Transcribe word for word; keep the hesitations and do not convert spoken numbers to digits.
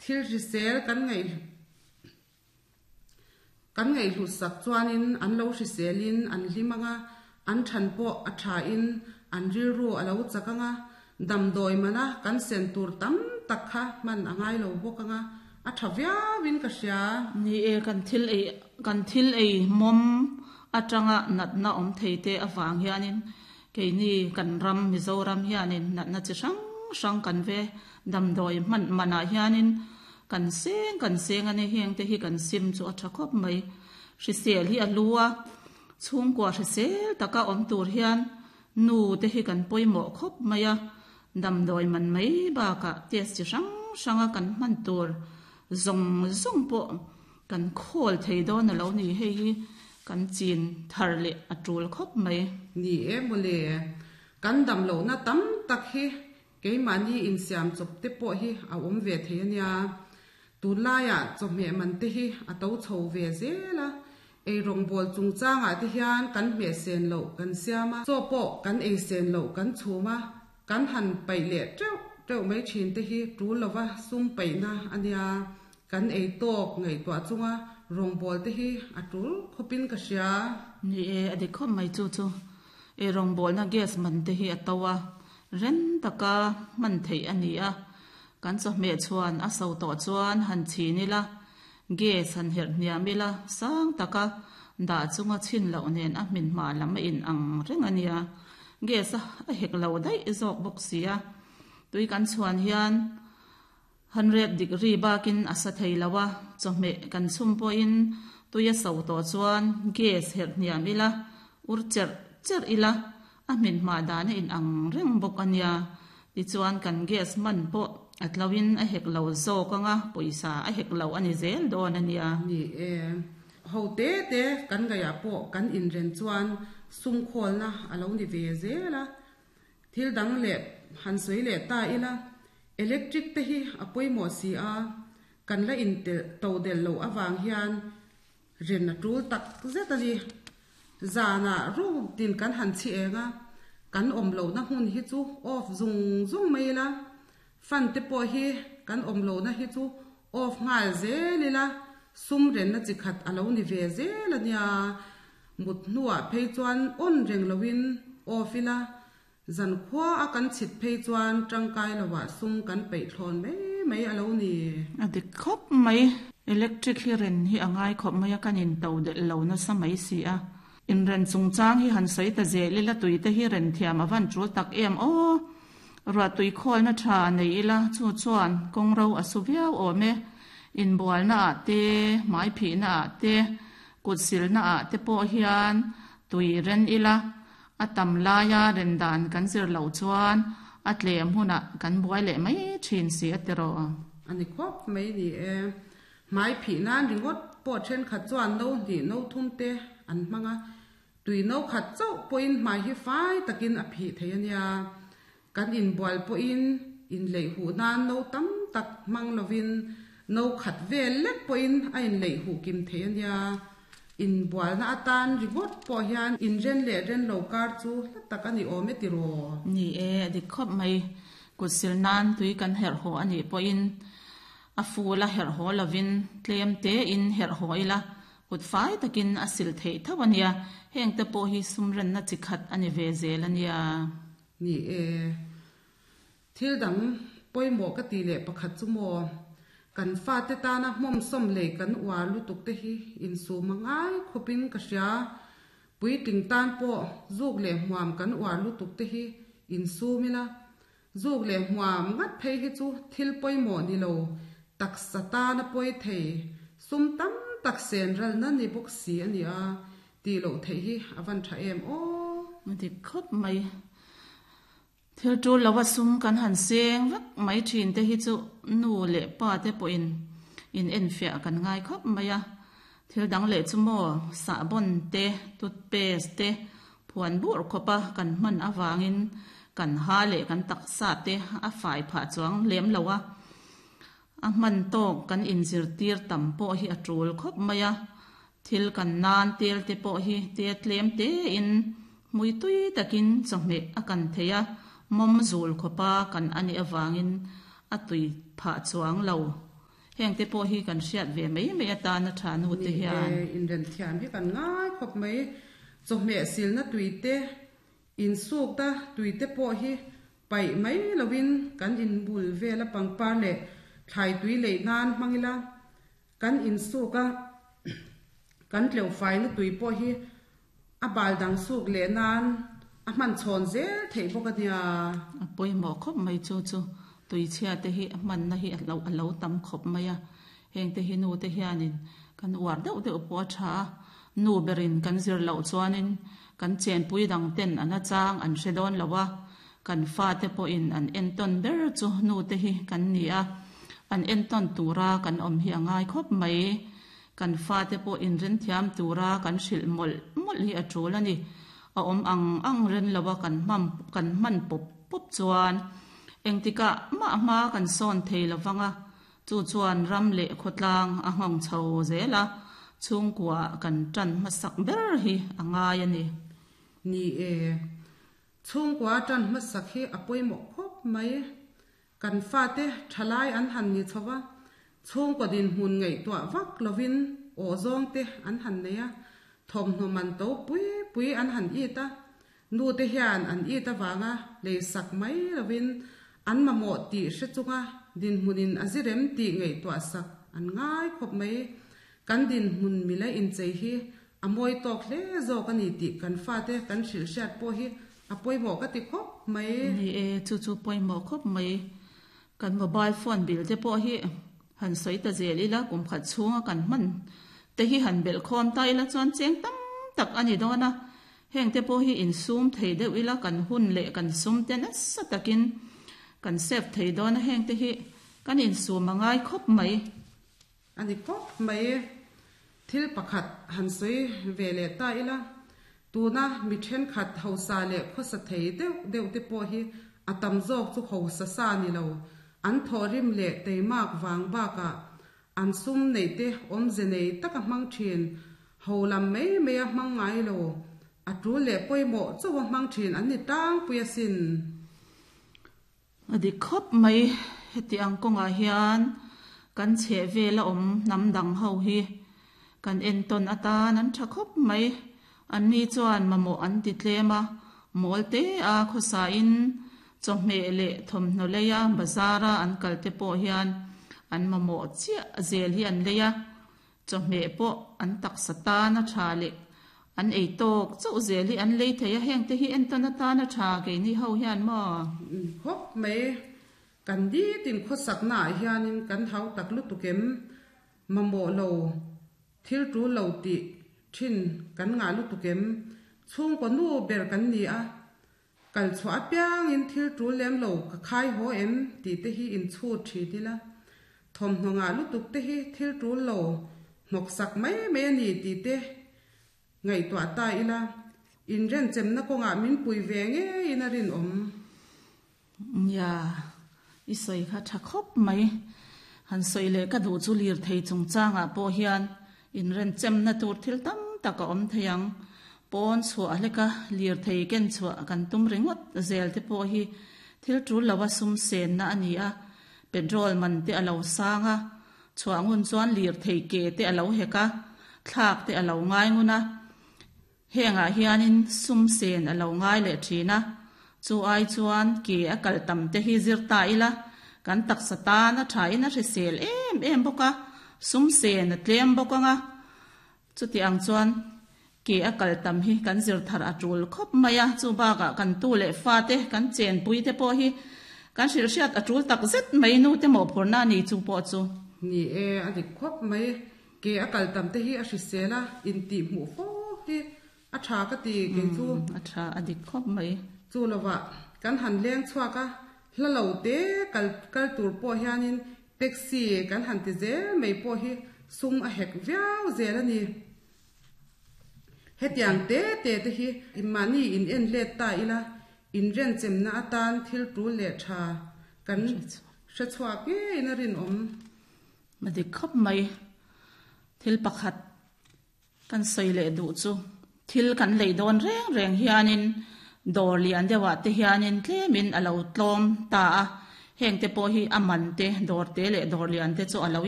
Thil hrisel kan ngaih kan ngaihhlut sak chuanin an lo hriselin an hlim anga, an than pawh a thain an rilru a lo chak anga, damdawi mana kan sen tur tam tak kha hman a ngai lo bawk anga, a tha viauin ka hria. Ni e, kan thil ei kan thil ei mawm atanga natna awm thei te avang hianin keini kan ram Mizoram hianin natna chi hrang hrang kan ve damdawi hman manah hianin kan seng kan seng a ni. Heng te hi kan sim chu a tha khawp mai. Hrisel hi a lu a, chhungkua hrisel taka awm tur hian nu te hi kan pawimawh khawp mai a, damdawi man mai bakah test chi hrang hranga kan hman tur zawng zawng pawh kan khawl thei dawn a lo ni. Hei hi kan chin thar leh a tul khawp mai. Ni e mawle, kan dam lohna tam tak hi keimahni insiam chawp te pawh hi a awm ve thei a nia. Tunlaiah chawhmeh man te hi a to chho ve zel a, ei rawngbawl chungchangah te hian kan hmeh sen loh kan siam a, chaw pawh kan ei sen loh kan chhum a, kan han paih leh teuh teuh mai thin te hi tul lova sum paihna a nia. Kan ei tawk ngaihtuah chunga rawngbawl te hi a tul khawpin ka hria. Ni e, a dik khawp mai chu chu. Ei rawngbawlna gas man te hi a to a, ren taka hman theih a ni a. Kan chawhmeh chuan a so tawh chuan han chhin ila, gas han herh hniam ila, sang taka dah chunga chhin loh nen a hmin hma lam a in ang reng a nia. Gas a a hek lo daih zawk bawk si a. Tui kan chhuan hian hundred degree bakin a sa thei lo a, chawhmeh kan chhum pawhin tui a so tawh chuan gas herh hniam ila, ur cherh cherh ila, a hmin hma dan a in ang reng bawk a nia. Tichuan kan gas man pawh a tloin a hek lo zawk anga, pawisa a hek lo a ni zel dawn a nia. Ni e, ho te te kan ngaihah pawh kan inren chuan sum khawlna a lo ni ve zel a. Thil dang leh han sawi leh ta ila, electric te hi a pawimawh si a, kan la in to del lo awang hian ren a tul tak zet a ni. Zanah room tin kan han chi enga, kan awm lo na hmun hi chu off zung zung mai ila, fan te pawh hi kan awm lo na hi chu off nghal zel ila, sum ren na chi khat a lo ni ve zel a nia. Mut hnuah phei chuan on reng loin off ila, zan khua a kan chhit phei chuan tangkai loah sum kan peih thlawn mai mai a lo ni. A dik khawp mai. Electric hi ren hi a ngai khawp mai a, kan in to del lo na sa mai si a. In ren chungchang hi han sawi ta zel ila, tui te hi ren thiam a van tul tak em aw. Ruah tui khawl na tha nei ila, chu chuan kawng ro a su viau awm e. In bual na ah te, hmai phih na ah te, kut sil na ah te pawh hian tui ren ila, a tam laia ren dan kan zir lo chuan a tlem hunah kan buai leh mai thin si a tiraw. Ani khawp mai ni e. Hmai phih nan ringawt pawh thenkhat chuan no hnih no thum te an hmanga, tui no khat chauh pawhin hmai hi fai takin a phih thei a nia. Kan inbual pawhin in leih huh nan no tam tak hmang lovin no khat vel lek pawhin a in leih huh kim thei a nia. Inbual na atan ringawt pawh hian in ren leh ren lo kar chu hla tak a ni awm e tiraw. Ni e, a dik khawp mai. Kut sil nan tui kan herh haw a nih pawhin a ful a herh haw lovin tlem te in herh haw ila, kut fai takin a sil theih tho a nia. Heng te pawh hi sum ren na chi khat a ni ve zel a nia. Ni e, thil dang pawimawh ka ti leh pakhat chu maw, kan fa te tana hmawm sawm lei kan uar lutuk te hi insum a ngai khawpin ka hria. Puitling tan pawh zuk leh hmuam kan uar lutuk te hi insum ila, zuk leh hmuam ngat phei hi chu thil pawimawh ni lo taksa tana pawi thei sum tam tak sen ral na ni bawk si a ni a, ti loh theih hi a van tha em aw. A dik khawp mai. Thil tul lova sum kan han seng vek mai thin te hi chu nu leh pa te pawhin in en fiah kan ngai khawp mai a. Thil dang leh chu maw sahbawn te, toothpaste te phuan bur khawpa kan hman awangin kan ha leh kan taksa te a fai phah chuang lem lo a. A hman tawk kan inzir tir tam pawh hi a tul khawp mai a. Thil kan nan tel te pawh hi te tlem te in mui tui takin chawhmeh a kan thei a, mawm zul khawpa kan ani awangin a tui phah chuang lo. Heng te pawh hi kan hriat ve mai mai atana tha nu te Ni e, hian. Inren thiam hi kan ngai khawp mai. Chawhmeh silna tui te, insukna tui te pawh hi paih mai lovin kan inbul vela pangpar leh thlai tui leih nan hmang ila, kan insuk a kan tleuh faina tui pawh hi a bal dang suk leh nan a hman chhawn zel theih bawk a nia. A pawimawh khawp mai chu chu tui chhia te hi a hmanna hi a lo a lo tam khawp mai a. Heng te hi nu te hianin kan uar deuh deuh pawh a tha a, nu berin kan zir loh chuanin kan chenpui dang ten an a chang an hre dawn lo a, kan fate pawhin an entawn ber chu nu te hi kan ni a, an entawn tura kan awm hi a ngai khawp mai. Kan fate pawh inren thiam tura kan hrilh mawlh mawlh hi a tul a ni. A awm ang ang ren lo a kan hman kan hman pawp pawp chuan engtikah mah hma kan sawn thei lo vang a, chu chuan ram leh khawtlang a nghawng chho zel a, chhungkua kan tan hmasak ber hi a ngai a ni. Ni e, chhungkua tan hmasak hi a pawimawh khawp mai. Kan fate thalai an han ni chho va, chhungkaw dinhmun ngaihtuah vak lovin aw zawng te an han nei a, thawmhnaw man to pui pui an han it a, nu te hian an it avanga lei sak mai lovin an mamawh tih hre chunga dinhmunin a zirem tih ngaihtuah sak an ngai khawp mai. Kan dinhmun mila inchei hi a mawi tawk hle zawk a ni tih kan fate kan hrilh hriat pawh hi a pawimawh ka ti khawp mai. Ni e, chu chu pawimawh khawp mai. Kan mobile phone bill te pawh hi han sawi ta zel ila, kum khat chhunga kan hman te hi han belh khawm ta ila chuan cheng tam tak a ni dawn a. Heng te pawh hi insum thei deuh ila kan hun leh kan sum te nasa takin kan save thei dawn a, heng te hi kan insum a ngai khawp mai. A ni khawp mai. Thil pakhat han sawi ve leh ta ila, tuna mi thenkhat hausa leh khawsa thei deuh deuh te pawh hi a tam zawk chu hausa sa ni lo, an thawhrim leh teimak vang bakah an sum neih te awmze nei taka hmang thin, ho lam mai mai a hmang ngai lo, a tul leh pawimawh chauh a hmang thin an ni tlangpui asin. A dik khawp mai. Heti ang kawngah hian kan chheh vel a awm hnam dang ho hi kan entawn atan an tha khawp mai. Anni chuan mamawh an ti tlem a, mawl te a khawsain chawhmeh leh thawmhnaw leia bazar-a an kal te pawh hian an mamawh chiah zel hi an lei a, chawhmeh pawh an taksa tan a tha leh an ei tawk chauh zel hi an lei thei a, heng te hi entawn atan a tha keini ho hian maw? Khawp mai. Kan ditin khawsaknaah hianin kan hau tak lutuk em? Mamawh lo, thil tul lo tih thin kan ngah lutuk em? Chhungkaw nu ber kan ni a, kal chhuah apiangin thil tul lem lo ka khai haw em tih te hi inchhut thin ila, thawmhnaw ngah lutuk te hi thil tul lo hnawk sak mai mai a ni tih te ngaihtuah ta ila, inrenchemna kawngah min pui ve ngeiin a rinawm. Nia, i sawi kha tha khawp mai. Han sawi leh ka duh chu lirthei chungchangah pawh hian inrenchemna tur thil tam tak a awm thei ang. Pawn chhuah hleka lirthei ken chhuah kan tum ringawt zel te pawh hi thil tul lova sum senna a ni a, petrol man te a lo sang a, chhuah ngun chuan lirthei ke te a lo hek a, thlak te a lo ngai ngun a, hengah hianin sum sen a lo ngai leh thin a, chu ai chuan ke a kal tam te hi zir ta ila, kan taksa tan a thain a hrisel em em bawk a, sum sen a tlem bawk anga, chuti ang chuan ke a kal tam hi kan zir thar a tul khawp mai a, chu bakah kan tu leh fa te kan chenpui te pawh hi kan hrilh hriat a tul tak zet mai nu te mawhphurhna a ni chu pawh chu. Ni e, a dik khawp mai. Ke a kal tam te hi a hrisel a, intih hmuh fo hi a tha ka ti kei chu. A tha, a dik khawp mai. Chu lovah kan han leng chhuak a, hla lo te kal kal tur pawh hianin taxi kan han ti zel mai pawh hi sum a hek viau zel a ni. Hetiang te te te hi mahni in en let ta ila, inrenchemna atan thil tul leh tha kan hre chhuak ngeiin a rinawm. A dik khawp mai. Thil pakhat kan sawi leh duh chu thil kan lei dawn reng reng hianin dawr lian deuhah te hianin tlemin a lo tlawm ta a, heng te pawh hi a man te dawr te leh dawr lian te chu a lo